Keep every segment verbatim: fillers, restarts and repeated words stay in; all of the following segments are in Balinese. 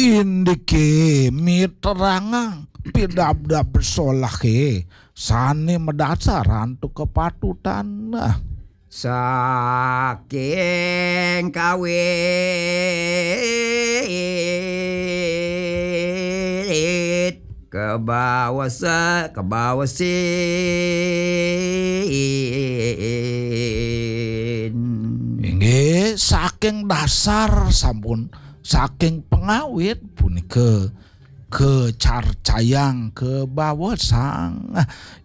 Indike miterangang pidabdab solahe sane madasar antuk kepatutan. Nah, saking kawit kebawasa kebawasin. Inggih, saking dasar sampun, saking pengawit punika kecarcayang kebawasang.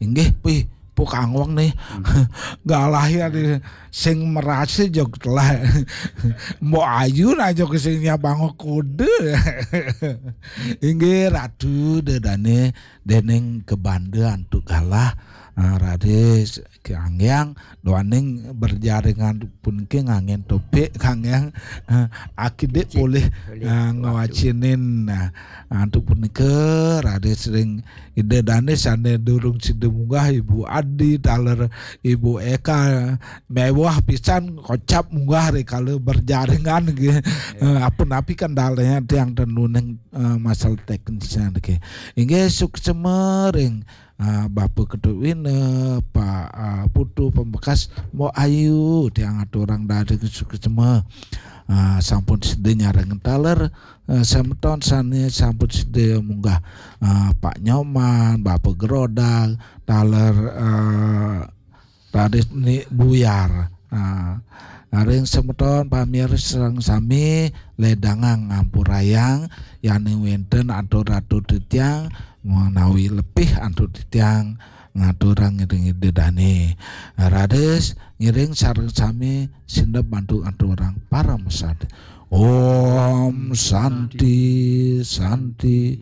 Inggih, pih, pukangwang nih. Galah ya di sing merasa jog telah. Mbok ayu aja ke sing nyabang kuda. Inggih, Ratu dedane dening kebanda antuk galah. Ah, raris kanggiang doaning berjaringan puniki nganggen topik kanggiang, ah, akidik polih, ah, ngwacinin. Nah, antuk punika raris ring Ida Dane sane durung sida munggah, Ibu Adi taler Ibu Eka, mewah pisan kocap munggah rikala berjaringan nggih. Eh, ampun api kendalanya tiang tenuning, eh, masalah teknisnya nggih. Inggih suksema ring, eh, Bapa Ketut Wina, Pak, eh, Putu Pembekas, Mbok Ayu tiang aturang daring suksema. Eh, sampun sida nyareng taler, eh, semeton sane sampun sida munggah, eh, Pak Nyoman, Bapa Gerodag, taler, eh, Raden Ni Buyar. Ah, ring semeton pamirsa sareng sami ledangang ngampurayang, yane wenten atur-atur titiang menawi lepih antuk titiang ngaturang ring Ida Dane. Raris ngiring sareng sami sineb antuk aturang parama santi. Om Santi, Santi,